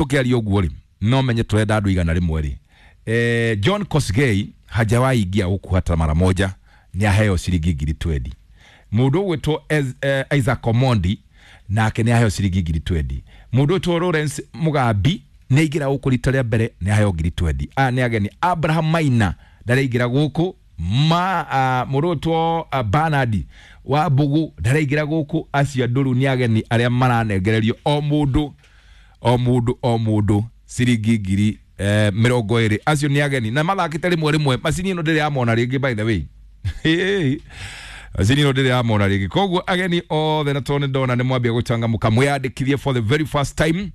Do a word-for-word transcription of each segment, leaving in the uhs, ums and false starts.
Tukiaria ũguo rĩ, no menye tũrenda andũ igana rĩmwe rĩ. Eh, John Kosgei hajawahi ingia huku hata mara moja, nĩ aheo ciringi ngiri twenty. Mũndũ ũgwĩtwo eh, Isaac Omondi nake nĩ aheo ciringi ngiri twenty. Mũndũ ũgwĩtwo Lawrence Mugambi nĩ aingĩra gũkũ rita rĩa mbere, nĩ aheo ngiri twenty. Aya nĩ ageni. Abraham Maina ndaraingĩra gũkũ. Ma uh, mũndũ ũgwĩtwo uh, Bernard wa Mbugu ndaraingĩra gũkũ. Acio andũ rĩu nĩ ageni arĩa maranengererio o mũndũ o mũndũ o mũndũ ciringi ngiri eh, mĩrongo ĩrĩ. Acio nĩ ageni na mathakĩte rĩmwe rĩmwe. Macini ĩno ndĩrĩ yamona rĩngĩ, by the way. Macini ĩno ndĩrĩ yamona rĩngĩ. Koguo ageni othe, na tondũ nĩ ndona nĩ mwambia gũcangamũka, mwĩyandĩkithie for the very first time,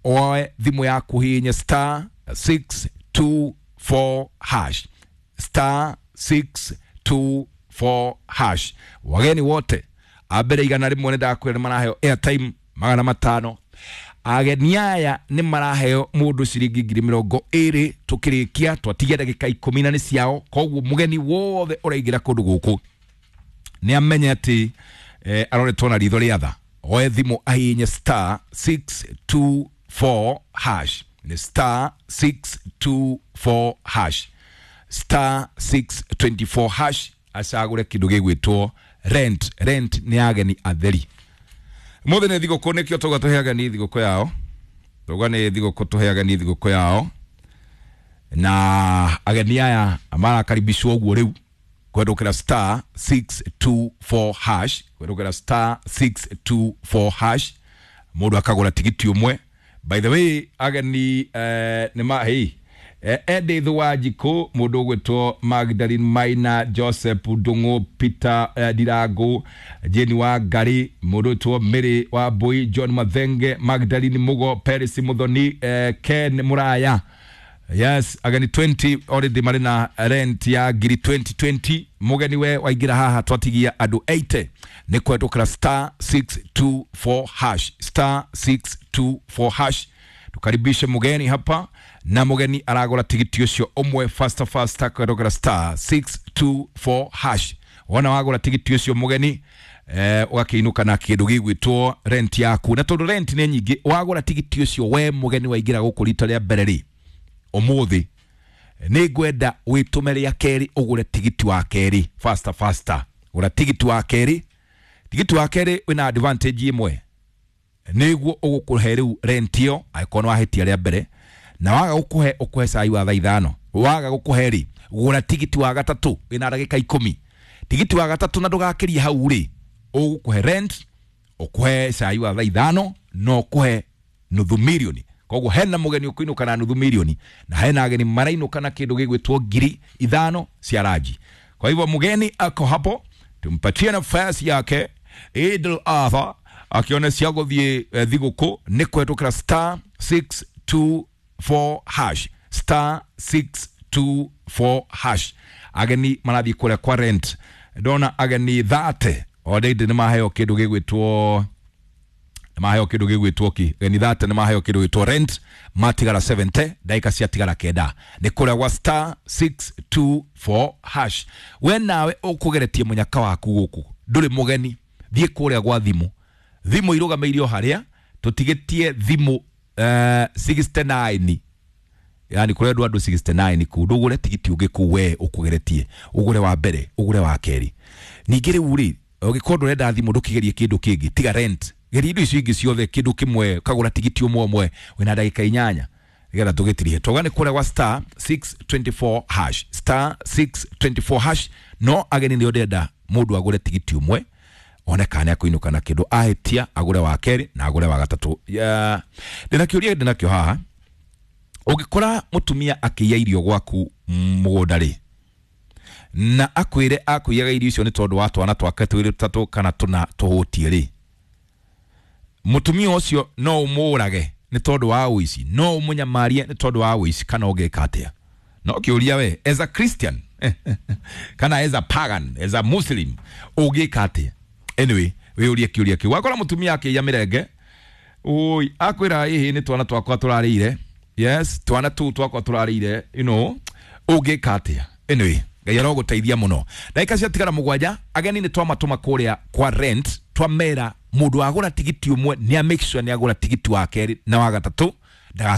oe thimũ yaku, hihinye star six two four hash, star six two four hash. Wageni wote a mbere igana rĩmwe nĩ ndakwĩra nĩ maraheo airtime magana matano. Ageni aya nĩ maraheo mũndũ ciringi ngiri mĩrongo ĩrĩ. Tũkĩrĩkia twatigia ndagĩka ikũmi na nĩ ciao. Koguo mũgeni wothe ũraingĩra kũndũ gũkũ nĩ amenye atĩ eh, aroretwo na ritho rĩa tha. Oe thimũ ahihinye star six two four hash, nĩ star six two four hash, star six two four hash, acagũre kĩndũ gĩgwĩtwo rent. Rent nĩ ageni atheri. Mũthĩ nĩ thigũkũ, nĩkĩo tauga tũhe ageni thigũkũ yao. Tauga nĩ thigũkũ, tũhe ageni thigũkũ yao, na ageni aya marakaribishwo ũguo rĩu kwendũkĩra star six two four hash, kwendũkĩra star six two four hash, mũndũ akagũra tigiti ũmwe. By the way, ageni eh, nĩ ma hey, eh, Edith Wanjikũ, mũndũ ũgwĩtwo Magdalene Maina, Joseph Ndung'u, Peter eh, Ndirangu, Jane Wangari, mũndũ ũgwĩtwo Mary Wambui, John Mathenge, Magdalene Mugo, Paris Muthoni, eh, Ken Muraya. Yes, ageni twenty already marĩ na rent ya ngiri twenty twenty. Mũgeni we waingĩra haha, twatigia andũ eighty, nĩ kwendũkĩra star six two four hash, star six two four hash. Tukaribishe mgeni hapa, na mgeni aragũra tigiti ũcio ũmwe faster faster kwendũkĩra star six two four hash. Wona wagũra tigiti ũcio, mũgeni, eh, ũgakĩinũka na kĩndũ gĩgwĩtwo rent yaku. Na tondũ rent nĩ nyingĩ, wagũra tigiti ũcio, we mũgeni waingĩra gũkũ rita rĩa mbere rĩ, ũmũthĩ nĩ ngwenda wĩtũme rĩa kerĩ, ũgũre tigiti wa kerĩ faster faster. Gũra tigiti wa kerĩ. Tigiti wa kerĩ wĩna advantage ĩmwe, nĩguo ũgũkũhe rĩu rent ĩyo angĩkorwo nĩ wahĩtia rĩa mbere. Na waga gũkũhe, ũkũhe cai wa thaa ithano. Waga gũkũhe rĩ, gũra tigiti wa gatatũ wĩna ndagĩka ikũmi. Tigiti wa gatatũ, na ndũgakĩrie hau rĩ, ũgũkũhe rent, ũkũhe cai wa thaa ithano, na ũkũhe nuthu milioni. Koguo hena mũgeni ũkũinũka na nuthu milioni, na hena ageni marainũka na kĩndũ gĩgwĩtwo ngiri ithano cia ranji. Kwa hivyo mgeni ako hapo, tumpatie nafasi yake. Idul Adha akiona cia gũthiĩ eh, thigũkũ nĩ kũhetũkĩra star six two four hash, star six two four hash. Ageni marathiĩ kũrĩa kwa rent. Ndona ageni thate already nĩ maheo kĩndũ gĩgwĩtwo maheo kĩndũ gĩgwĩtwo ki ageni thate nĩ maheo kĩndũ gĩgwĩtwo rent, matigara seventy, ndagĩka ciatigara kenda, nĩ kũrĩa gwa star six two four hash. We nawe ũkũgeretie mũnyaka waku gũkũ, ndũrĩ mũgeni, thiĩ kũrĩa gwa thimũ. Thimũ irũgamĩirio harĩa tũtigĩtie thimũ uh, sixty-nine, yani kũrendwo andũ sixty-nine kuu. Ndũgũre tigiti ũngĩ kuu, we ũkũgeretie, ũgũre wa mbere, ũgũre wa kerĩ. Ningĩ rĩu rĩ, ũngĩkorwo ndũrenda thimũ, ndũkĩgerie kĩndũ kĩngĩ tiga rent. Geria indo icio ingĩ ciothe, kĩndũ kĩmwe, kagũra tigiti ũmwe ũmwe. Wĩna ndagĩka inyanya nĩgetha tũgĩtirihe. Tauga nĩ kũrĩa gwa star six two four hash, star six two four hash. No ageni nĩo ndĩrenda mũndũ agũre tigiti ũmwe, one kana nĩ akũinũka na kĩndũ. Ahĩtia, agũre wa kerĩ na agũre wa gatatũ. Ya, ndĩna kĩũria ndĩnakĩo haha. Ũngĩkora mũtumia akĩiya irio gwaku mũgũnda rĩ, na akwĩre akũiyaga irio icio nĩ tondũ wa twana twake twĩrĩ, tũtatũ kana tũna tũhũtie rĩ, mũtumia ũcio no ũmũrage nĩ tondũ wa ũici, no ũmũnyamarie nĩ tondũ wa ũici, kana ũngĩka atĩa? No kĩũria, we as a Christian kana as a pagan, as a Muslim, ũngĩka atĩa? Anyway, wĩũrie kĩũria kĩu. Wakora mũtumia akĩiya mĩrenge, oi, akwĩra ĩhĩ nĩ twana twakwa tũrarĩire, yes, twana tũu twakwa tũrarĩire, you know ũngĩka atĩa? Anyway, Ngai arogũteithia mũno. Ndagĩka ciatigara mũgwanja. Ageni nĩ twamatũma kũrĩa kwa rent, twamera mũndũ agũra tigiti ũmwe nĩ a make sure nĩ agũra tigiti wa kerĩ na wa gatatũ. Ndaga